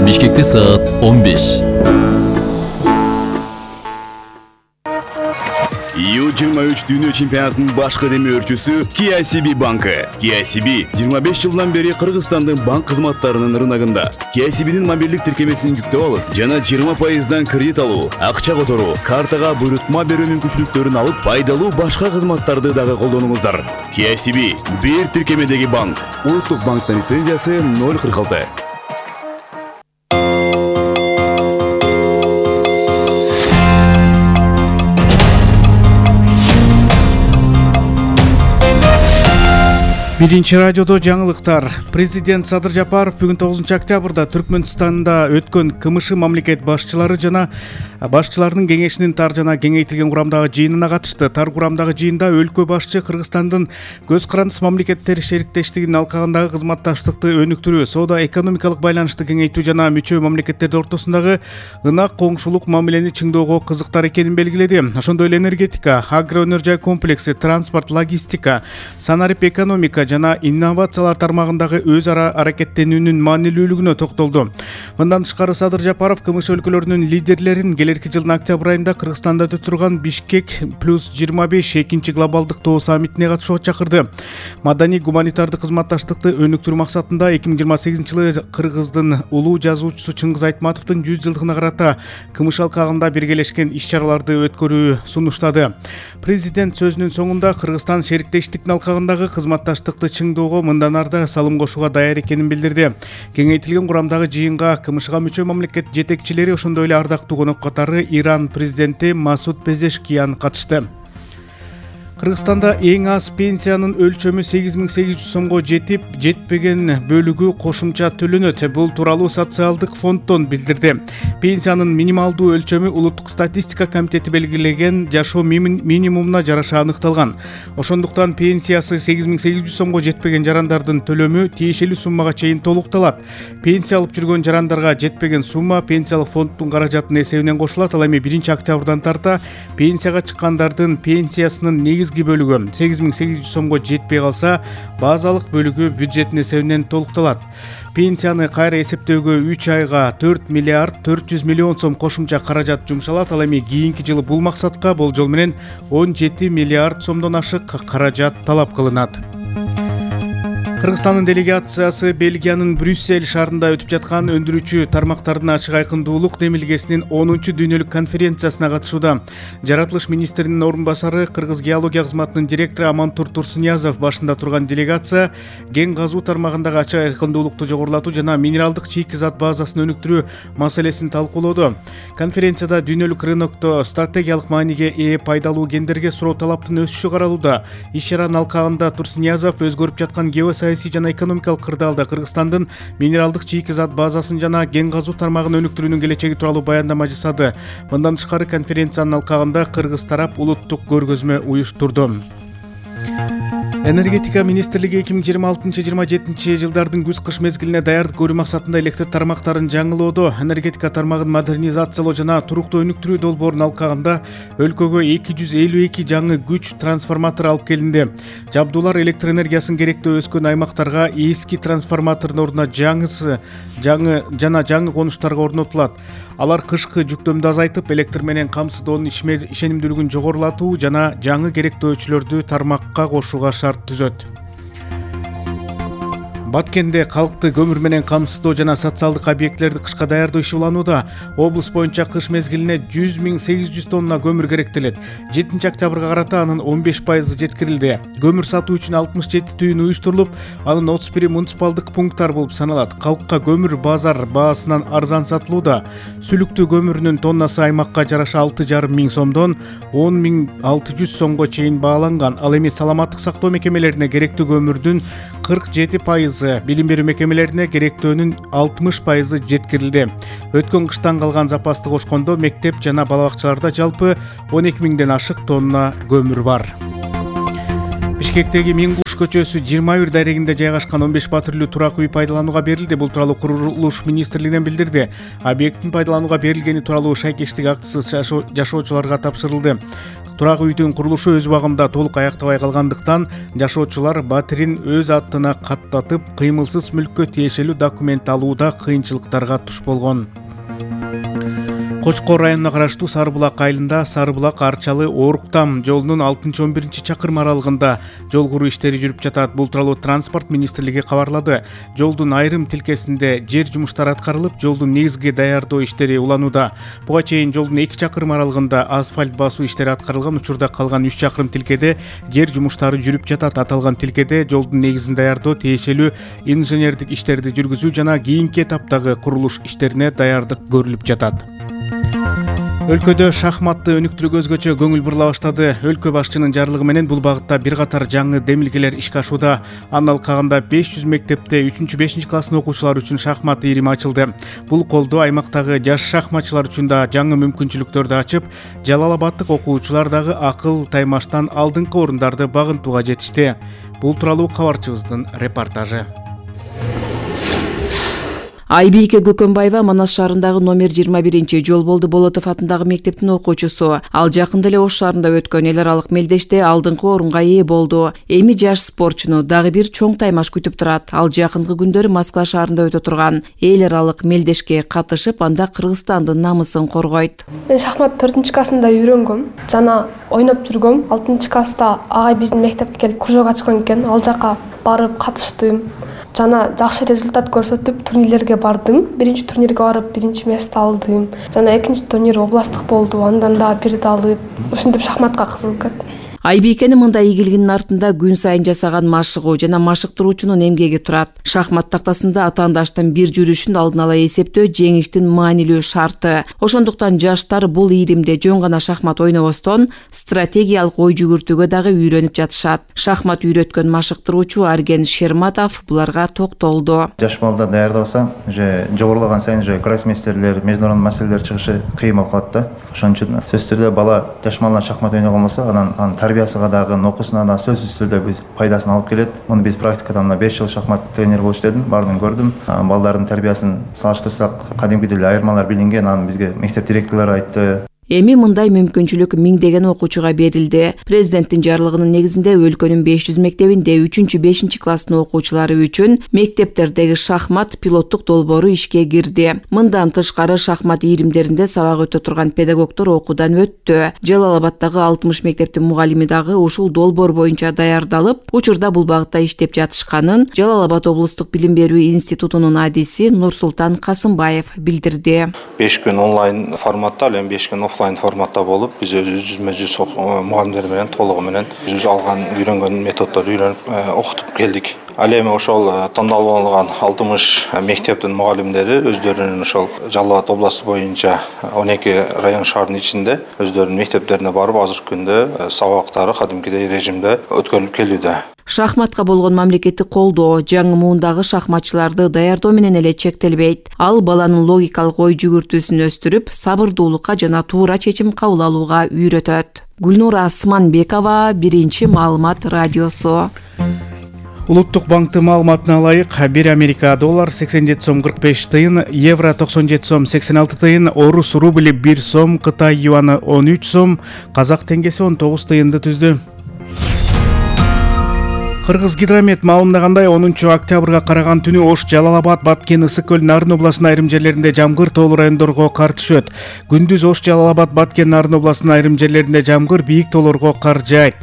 Бишкекте саат 15. U23 дүйнө чемпионатынын башкы демөөрчүсү KCB банкы. KCB 25 жылдан бери Кыргызстандын банк кызматтарынын рыногунда. KCB'нин мобилдик тиркемесин жүктөп алып, жана 20% кредит алуу, акча которуу, картага буйрутма берүү мүмкүнчүлүктөрүн алып, пайдалуу башка кызматтарды дагы колдонуңуздар. KCB бир тиркемедеги банк. Улуттук банктын лицензиясы 046. Биринчи радиодо жаңылыктар. Президент Садыр Жапаров бүгүн 9-октябрда Түркмөнстанда өткөн КМШ мамлекет башчылары жана башчыларынын кеңешинин тар жана кеңейтилген курамдагы жыйынына катышты. Тар курамдагы жыйында өлкө башчы Кыргызстандын көз карандыс мамлекеттер шериктештигинин алкагындагы кызматташтыкты өнүктүрүү, соода-экономикалык байланышты кеңейтүү жана мүчө мамлекеттердин ортосундагы ынак коңшулук мамилени чыңдөөгө кызыктар экенин белгиледи. Ошондой эле энергетика, агроөнөр жай комплекси, транспорт, логистика, санарип экономика жана инновациялар тармагындагы өз ара аракеттенүүнүн маанилүүлүгүнө токтолду. Мындан тышкары Садыр Жапаров КМШ өлкөлөрүнүн лидерлерин келерки жылдын октябрь айында Кыргызстанда өтө турган Бишкек +25 экинчи глобалдык тоо саммитине катышууга чакырды. Маданий гуманитардык кызматташтыкты өнүктүрүү максатында 2028-жылы Кыргыздын улуу жазуучусу Чыңгыз Айтматовдун 100 жылдыгына карата КМШ алкагында биргелешкен иш-чараларды өткөрүү сунуштады. Президент сөзүнүн соңунда Кыргызстан шериктештиктин алкагындагы кызматташтыкты чыңдоого мындан ары салым кошууга даяр экенин билдирди. Кеңейтилген курамдагы жыйынга КМШга мүчө мамлекет жетекчилери, ошондой эле ардактуу конок катары Иран президенти Масуд Пезешкиян катышты. Кыргызстанда эң аз пенсиянын өлчөмү 8800 сомго жетпеген бөлүгү кошумча төлөнөт. Бул тууралуу социалдык фонддон билдирди. Пенсиянын минималдуу өлчөмү Улуттук статистика комитети белгилеген жашоо минимумуна жараша аныкталган. Ошондуктан пенсиясы 8800 сомго жетпеген жарандардын төлөмү тиешелүү суммага чейин толукталат. Пенсия алып жүргөн жарандарга жетпеген сумма пенсиялык фонддун каражатынын эсебинен кошулат. Ал эми 1-октябрдан тарта пенсияга чыккандардын пенсиясынын негизги бөлүгү 8800 сомго жетпей калса, базалык бөлүгү бюджеттин эсебинен толукталат. Пенсияны кайра эсептөөгө 3 айга 4 миллиард 400 миллион сом кошумча каражат жумшалат. Ал эми кийинки жылы бул максатка болжол менен 17 миллиард сомдон ашык каражат талап кылынат. Кыргызстандын делегациясы Бельгиянын Брюссель шаарында өтүп жаткан өндүрүүчү тармактардын ачык айкындуулук демилгесинин 10-дүйнөлүк конференциясына катышууда. Жаратылыш министринин орун басары, Кыргыз геология кызматынын директору Амантур Турсуниязов башында турган делегация кен казуу тармагындагы ачык айкындуулукту жогорулатуу жана минералдык чийки зат базасын өнүктүрүү маселесин талкуулоодо. Конференцияда дүйнөлүк рынокто стратегиялык мааниге ээ пайдалуу кендерге суроо талаптын өсүшү каралууда. Иш-чаранын алкагында Турсуниязов өзгөрүп жаткан геосаясий жана экономикалык кырдаалда Кыргызстандын минералдык чийки зат базасын жана кен казуу тармагын өнүктүрүүнүн келечеги тууралуу баяндама жасады. Мындан тышкары конференциянын алкагында Кыргыз тарап улуттук көргөзмө уюштурду. Энергетика министрлиги 2026-27 жылдардын күз-кыш мезгилине даярдык көрүү максатында электр тармактарын жаңылоодо. Энергетика тармагын модернизациялоо жана туруктуу өнүктүрүү долбоорунун алкагында өлкөгө 252 жаңы күч трансформатор алып келинди. Жабдуулар электр энергиясын керектөө өскөн аймактарга эски трансформатордун ордуна жаңы конуштарга орнотулат. Алар кышкы жүктөмдү азайтып, электр менен камсыздоонун ишенимдүүлүгүн жогорулатуу жана жаңы керектөөчүлөрдү тармакка кошууга шарт түзөт. Баткенде калкты көмүр менен камсыздоо жана социалдык объектилерди кышка даярдоо иши уланууда. Облус боюнча кыш мезгилине 100.800 тонна көмүр керектелет. 7-октябрга карата анын 15% жеткирилди. Көмүр сатуу үчүн 67 түйүн уюштурулуп, анын 31 муниципалдык пункттар болуп саналат. Калкка көмүр базар баасынан арзан сатылууда. Сүлүктүү көмүрүнүн тоннасы аймакка жараша 6,5 сомдон 10.600 сомго чейин бааланган. Ал эми саламаттык сактоо мекемелерине керектүү көмүрдүн 47%, билим берүү мекемелерине керектөөнүн 60% жеткирилди. Өткөн кыштан калган запасты кошкондо мектеп жана бала бакчаларда жалпы 12.000ден ашык тонна көмүр бар. Бишкектеги Мингуш көчөсү 21 дарегинде жайгашкан 15 патрулдуу турак үй пайдаланууга берилди. Бул тууралуу курулуш министрлигинен билдирди. Объекттин пайдаланууга берилгени тууралуу шайкештик актысы жашоочуларга тапшырылды. Турак үйдүн курулушу өз убагында толук аяктабай калгандыктан жашоочулар батирин өз атына каттатып, кыймылсыз мүлккө тиешелүү документ алууда кыйынчылыктарга туш болгон. Кочкор районуна караштуу Сарыбулак айылында Сарыбулак Арчалы Ооруктам жолунун 6-11 чакырым аралыгында жол куруу иштери жүрүп жатат. Бул тууралуу Транспорт министрлиги кабарлады. Жолдун айрым тилкесинде жер жумуштары аткарылып, жолдун негизги даярдоо иштери уланууда. Буга чейин жолдун 2 чакырым аралыгында асфальт басуу иштери аткарылган учурда калган 3 чакырым тилкеде жер жумуштары жүрүп жатат. Аталган тилкеде жолдун негизин даярдоо, тиешелүү инженердик иштерди жүргүзүү жана кийинки этаптагы курулуш иштерине даярдык көрүлүп жатат. Өлкөдө шахматты өнүктүрүүгө өзгөчө көңүл бурула баштады. Өлкө башчынын жарлыгы менен бул багытта бир катар жаңы демилгелер ишке ашууда. Анын алкагында 500 мектепте 3-5 класстын окуучулары үчүн шахмат ийрими ачылды. Бул колдоо аймактагы жаш шахматчылар үчүн да жаңы мүмкүнчүлүктөрдү ачып, Жалал Абадтык окуучулар дагы акыл таймаштан алдыңкы орундарды багынтууга жетишти. Бул тууралуу кабарчыбыздын репортажы. Айбийке Көкөнбаева Манас шаарындагы номер 21 Жолболду Болотов атындагы мектептин окуучусу. Ал жакында эле Ош шаарында өткөн эл аралык мелдеште алдыңкы орунга ээ болду. Эми жаш спортчуну дагы бир чоң таймаш күтүп турат. Ал жакынкы күндөрү Москва шаарында өтө турган эл аралык мелдешке катышып, анда Кыргызстандын намысын коргойт. Мен шахмат 4-классында үйрөнгөм жана ойноп жүргөм. 6-класста агай биздин мектепке келип кружок ачкан экен. Ал жака барып катыштым. Жана жакшы результат көрсөтүп турнирлерге бардым. Биринчи турнирге барып биринчи место алдым. Жана экинчи турнир областтык болду. Андан да бирди алып, ушинтип шахматка кызыгып кеттим. Айбикенин мындай ийгилигинин артында күн сайын жасаган машыгуу жана машыктыруучунун эмгеги турат. Шахмат тактасында атаандаштын бир жүрүшүн алдын ала эсептөө жеңиштин маанилүү шарты. Ошондуктан жаштар бул ийримде жөн гана шахмат ойнобостон, стратегиялык ой жүгүртүүгө дагы үйрөнүп жатышат. Шахмат үйрөткөн машыктыруучу Арген Шерматов буларга токтолду. Жаш балдар даярдабаса, уже жогорулаган сайын уже гроссмейстерлер, международный маселелер чыгышы кыйын болуп калат да. Ошон үчүн сөзсүз түрдө бала жаш балдар шахмат ойногон болсо, анан тарбиясыга дагы, окуусуна да сөзсүз түрдө биз пайдасын алып келет. Муну биз практикада 5 жыл шахмат тренер болуп иштедим, баарын көрдүм. Балдардын тарбиясын салыштырсак, кадимкидей эле айырмалар билинген, аны бизге мектеп директорлору айтты. Эми мындай мүмкүнчүлүк миңдеген окуучуга берилди. Президенттин жарлыгынын негизинде өлкөнүн 500 мектебинде 3-5 класстын окуучулары үчүн мектептердеги шахмат пилоттук долбоору ишке кирди. Мындан тышкары шахмат ийримдеринде сабак өтө турган педагогдор окуудан өттү. Жалал Абадтагы 60 мектептин мугалими дагы ушул долбоор боюнча даярдалып, учурда бул багытта иштеп жатышканын Жалал Абад облустук билим берүү институтунун адиси Нурсултан Касымбаев билдирди. 5 күн онлайн форматта, ал эми 5 күн офлайн форматта болуп, биз өзүбүз мугалимдер менен толугу менен өзүбүз алган үйрөнгөн методдорду үйрөнүп окутуп келдик. Ал эми ошол тандалган 60 мектептин мугалимдери өздөрүнүн ошол Жалал Абад областы боюнча 12 район шаардын ичинде өздөрүнүн мектептерине барып, азыркы күндө сабактары кадимкидей режимде өткөрүлүп келүүдө. Шахматка болгон мамлекеттик колдоо жаңы муундагы шахматчыларды даярдоо менен эле чектелбейт. Ал баланын логикалык ой жүгүртүүсүн өстүрүп, сабырдуулукка жана туура чечим кабыл алууга үйрөтөт. Гүлнура Асманбекова, Биринчи маалымат радиосу. Улуттук банктын маалыматына ылайык, бир Америка доллар 87 сом 45 тыйын, евро 97 сом 86 тыйын, орус рубли 1 сом, Кытай юаны 13 сом, казак теңгеси 19 тыйынды түздү. Кыргыз гидромет маалымдагандай 10 октябрга караган түнү Ош, Жалал Абад, Баткен, Ысык көл, Нарын областынын айрым жерлеринде жамгыр, тоолуу райондорго кар түшөт. Күндүз Ош, Жалал Абад, Баткен, Нарын областынын айрым жерлеринде жамгыр, бийик тоолорго кар жаайт.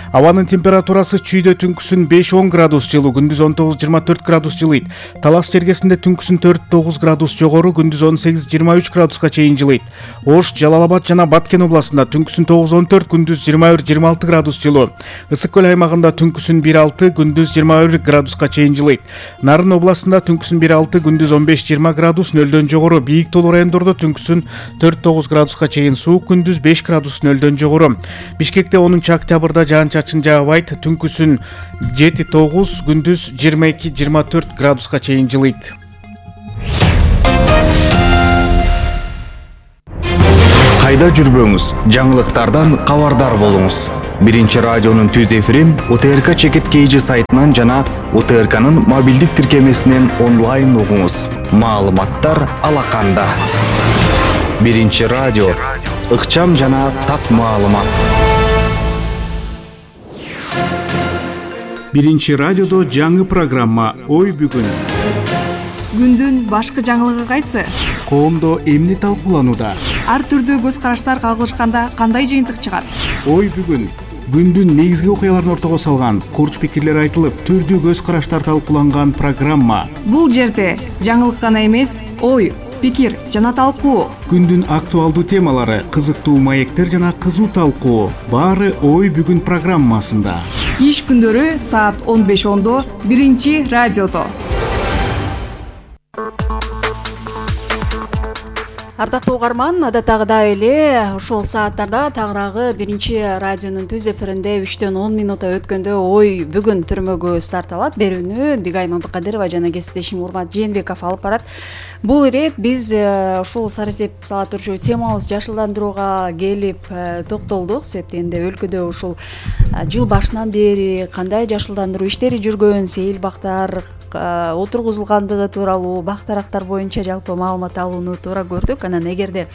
Абанын температурасы чүйдө түнкүсүн 5-10 градус жылуу, күндүз 19-24 градус жылыйт. Талас жергесинде түнкүсүн 4-9 градус жогору, күндүз 18-23 градуска чейин жылыйт. Ош, Жалал Абад жана Баткен областында түнкүсүн 9-14, күндүз 21-26 градус жылуу. Ысык көл аймагында түнкүсүн 1-6, күндүз 21 градуска чейин жылыйт. Нарын областында түнкүсүн 1-6, күндүз 15-20 градус, нөлдөн жогору. Бийик тоолуу райондордо түнкүсүн 4-9 градуска чейин суук, күндүз 5 градус нөлдөн жогору. Бишкекте 10 октябрда жаан-чачын жаабайт, түнкүсүн 7-9, күндүз 22-24 градуска чейин жылыйт. Кайда жүрбөңүз, жаңылыктардан кабардар болуңуз. Биринчи радионун түз эфирин УТРК Чекит KG сайтынан жана УТРКнын мобилдик тиркемесинен онлайн угуңуз. Маалыматтар алаканда. Биринчи радио, ыкчам жана так маалымат. Биринчи радиодо жаңы программа Ой бүгүн. Күндүн башкы жаңылыгы кайсы? Коомдо эмне талкууланууда? Ар түрдүү көз караштар кагылышканда кандай жыйынтык чыгат? Ой бүгүн. Күндүн негизги окуяларын ортого салган, курч пикирлер айтылып, түрдүү көз караштар талкууланган программа. Бул жерде жаңылык гана эмес, ой, пикир жана талкуу. Күндүн актуалдуу темалары, кызыктуу маектер жана кызуу талкуу баары Ой бүгүн программасында. Иш күндөрү саат 15:10 биринчи радиодо. Ардактуу угарман, адаттагыдай эле ушул сааттарда тагыраагы биринчи радионун түз эфиринде 3-төн 10 минута өткөндө Ой бүгүн түрмөгү старт алат. Берүүнү Бигай Мамдыкадырова жана кесиптешим Урмат Жээнбеков алып барат. Бул ирет биз ушул сарысеп сала турчу темабыз жашылдандырууга келип токтолдук. Себептен энди өлкөдө ушул жыл башынан бери кандай жашылдандыруу иштери жүргөн, сейил бактар отургузулгандыгы тууралуу, бак-дарактар боюнча жалпы маалымат алууну туура көрдүк. Анан эгерде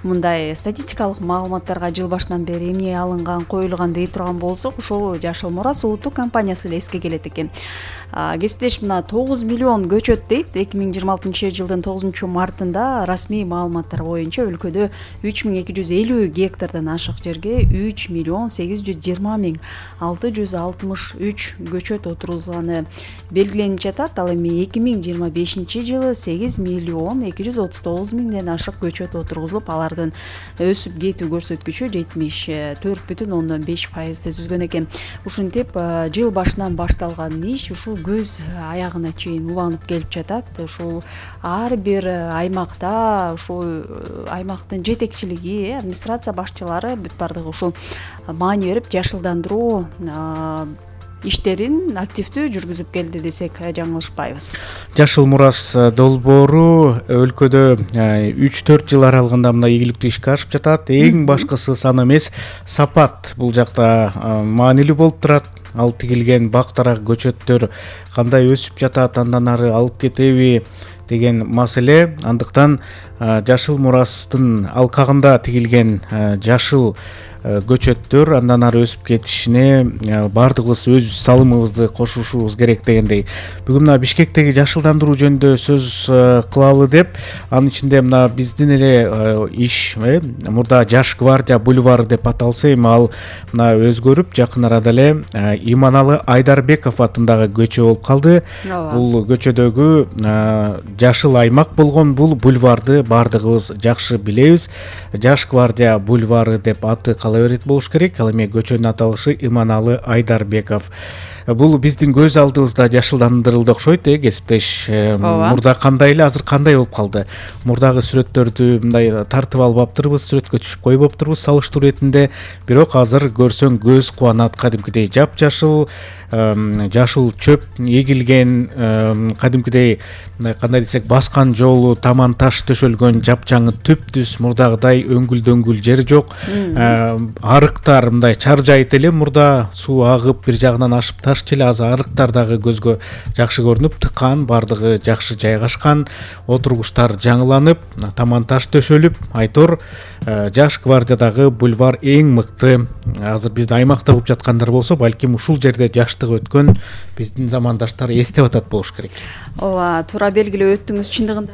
мындай статистикалык маалыматтарга жыл башынан бери эмне алынган, коюлган дей турган болсок, ушул Жашыл Мурас улуттук компаниясы эле эске келет экен. Кесиптеш мына 9 миллион көчөт дейт. 2026 жылдын 9 мартында расмий маалыматтар боюнча өлкөдө 3250 гектардан ашык жерге 3 миллион 820 миң 663 көчөт отургузулганы белгиленип жатат. Ал эми 2025 жылы 8 миллион 239 миңден ашык көчөт отургузулуп, алардын өсүп кетүү көрсөткүчү 74,5%-ды түзгөн экен. Ушинтип жыл башынан башталган иш ушул көз аягына чейин уланып келип жатат. Ушул ар бир аймакта ушул аймактын жетекчилиги, администрация башчылары бүт бардыгы ушул маани берип жашылдандыруу иштерин активдүү жүргүзүп келди десек жаңылышпайбыз. Жашыл Мурас долбоору өлкөдө 3-4 жыл аралыгында мына ийгиликтүү ишке ашып жатат. Эң башкысы сан эмес, сапат бул жакта маанилүү болуп турат. Ал тигилген бак-дарак көчөттөр кандай өсүп жатат, андан ары алып кетеби деген маселе. Андыктан Жашыл Мурастын алкагында тигилген жашыл көчөттөр андан ары өсүп кетишине баардыгыбыз өз салымыбызды кошушубуз керек дегендей. Бүгүн мына Бишкектеги жашылдандыруу жөнүндө сөз кылалы деп, анын ичинде мына биздин эле иш мурда Жаш гвардия бульвары деп аталса, эми ал мына өзгөрүп жакын арада эле Иманалы Айдарбеков атындагы көчө болуп калды. Бул көчөдөгү жашыл аймак болгон бул бульварды баардыгыбыз жакшы билебиз. Жаш гвардия бульвары деп аты берет болуш керек. Ал эми көчөнүн аталышы Иманалы Айдарбеков. Бул биздин көз алдыбызда жашылдандырылды окшойт, кесиптеш. Мурда кандай эле, азыр кандай болуп калды? Мурдагы сүрөттөрдү мындай тартып алып аптырбыз, сүрөткө түшүп коюп аптырбыз салыштыруу этинде. Бирок азыр көрсөң көз кубанат, кадимкидей жапжашыл, жашыл чөп эгилген, кадимкидей кандай десек баскан жолу таман таш төшөлгөн жапжаңы түп-түз, мурдагыдай өңгүл-дөңгүл жер жок. Арыктар мындай чаржайт эле, мурда суу агып бир жагынан ашып ташчу эле, азыр арыктар дагы көзгө жакшы көрүнүп, тыкан, бардыгы жакшы жайгашкан, отургучтар жаңыланып, таман таш төшөлүп, айтор Жаш гвардиядагы бульвар эң мыкты. Азыр биздин аймакта болуп жаткандар болсо, балким ушул жерде жаштыгы өткөн биздин замандаштар эстеп атат болуш керек. Ооба, туура белгилеп өттүңүз. Чындыгында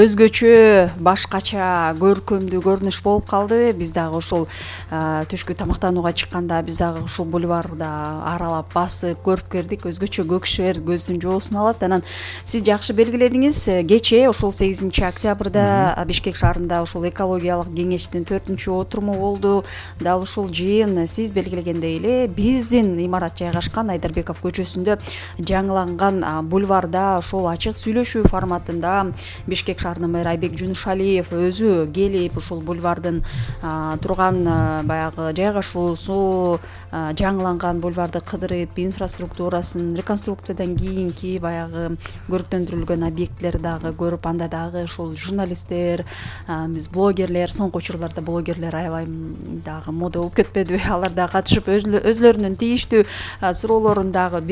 өзгөчө, башкача, көркөмдүү көрүнүш болуп калды. Биз дагы ушул түшкү тамактанууга чыкканда биз дагы ушул бульварда аралап басып көрүп келдик. Өзгөчө көкшөр көздүн жоосун алат. Анан сиз жакшы белгиледиңиз, кечээ ушул 8 октябрда Бишкек шаарында ушул экологиялык кеңештин 4-чү отуруму болду. Дал ушул жыйын сиз белгилегендей эле биздин имарат жайгашкан Айдарбеков көчөсүндө жаңыланган бульварда ушул ачык сүйлөшүү форматында Бишкек шаарынын мэрі Айбек Жунушалиев өзү келип ушул бульвардын турган баягы жайгашуусу, жаңыланган бульварды кыдырып, инфраструктурасын, реконструкциядан кийинки баягы көрүктөндүрүлгөн объектилерди дагы көрүп, анда дагы ушул журналисттер, биз блогерлер, соңку учурларда блогерлер аябай дагы мода болуп кетпедиби? Алар да катышып өзлөрүнүн тийиштүү суроолорун дагы